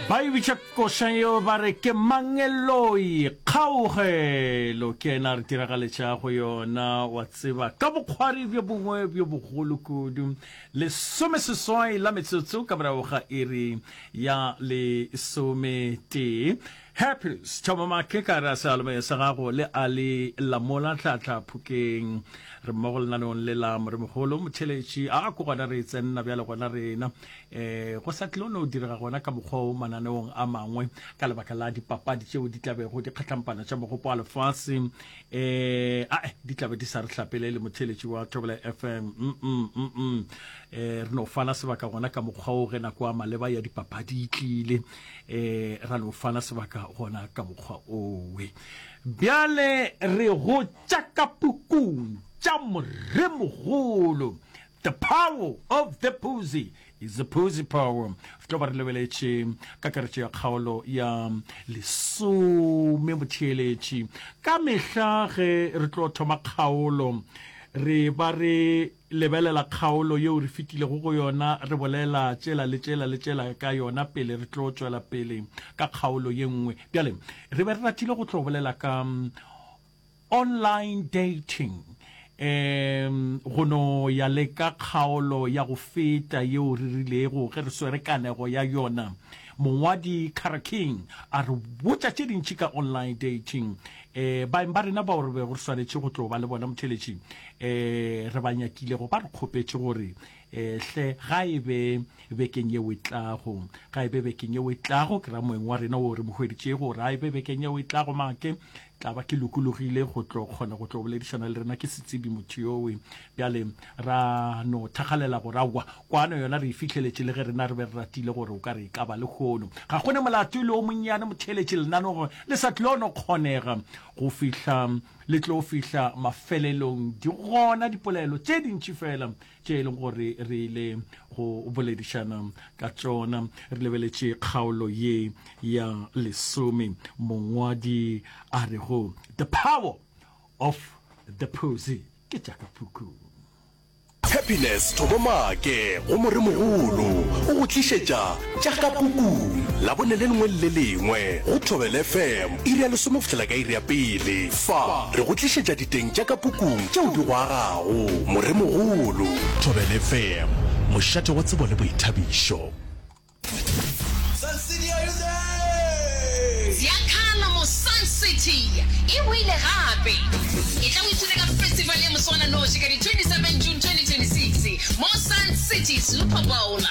Ba e bitša koša yeo ba re ke Mangeloi Kgaugelo ke yena a re diragaletšago yona wa tseba ka bokgwari bjo bongwe bjo bogolo kudu. Lesomeseswai la metsotso ka morago ga iri ya lesometee. Happiness Thoma Make ka re a seyalemoya sa gago le a le lamola tlhatla phokeng. Re mmogo lenaneong le la Moremogolo Motheletši a ko gona re tsenna bjale gona rena um go sa tlilo no direga gona ka mokgwa o mananeong a mangwe ka lebaka la dipapadi tšeo di tlabego di kgatlampana tša mogopo wa lefase um ae di tlabe di sa re hlapele le motheletši wa Thobela FM mm -mm, mm -mm. Eh, re no fana sebaka gona ka mokgwa o ge nako ya maleba ya dipapadi e tlile eh ra no fana sebaka gona ka mokgwa owe bjale re go tša ka pukung tša moremogolo the power of the pussy is the pussy power re tlo ba re lebeletše kakaretšo ya kgaolo ya lesome motheeletši ka mehla ge re tlo thoma kgaolo re ba re Lebelela kgaolo yeo re fetilego go yona, re bolela tšela le tšela le tšela ka yona pele re tlo tšwela pele ka kgaolo ye nngwe. Bjale, re be re ratile go tlo bolela ka online dating, um go no ya le ka kgaolo ya go feta yeo re rilego ge re swere kanego ya yona. Mongwadi Kara King a re botša tše dintši ka online dating. Um baeng ba rena bao re bego re swanetše go tlo ba le bona motheletši, um re ba nyakilego ba re kgopetše gore um hle ga e be bekeng yeo e tlago, ga e be bekeng yeo e tlago, ke ra moeng wa rena wo re mo hweditšego gore ga e be bekeng yeo e tlago make tla ba ke lokologile go tlo kgona go tlo boledišana le rena ke setsebi motho yowe. Bjale ra no thakgalela gore aowa kwano yona re e fihleletše le ge rena re be re ratile gore o ka re e ka ba lehono. Ga go ne molato le o monnyane motheeletši lenaneo le sa tlo no kgonega go fihla le tlo fihla mafelelong. Di gona dipolelo tše dintši fela tše e leng gore re ile go boledišana ka tšona. Re lebeletše kgaolo ye ya lesome, mongwadi a rego The Power of the Pussy ke tša ka pukung. Happiness Thobo Maake go Moremogolo o go tlišetša tša ka pukung Labone le lengwe le le lengwe go Thobela FM iri ya lesome go fihlela ka iri ya pele. Fa re go tlišetša diteng tša ka pukung tšeo di go agago. Moremogolo. Thobela FM, mošate wa tsebo le boithabišo. Sun City are you there? Ziakhala mo Sun City e boile gape. Etla o ipshine ka festival ya moswananoši ka di 27 June 2026 mo Sun City Super Bowl.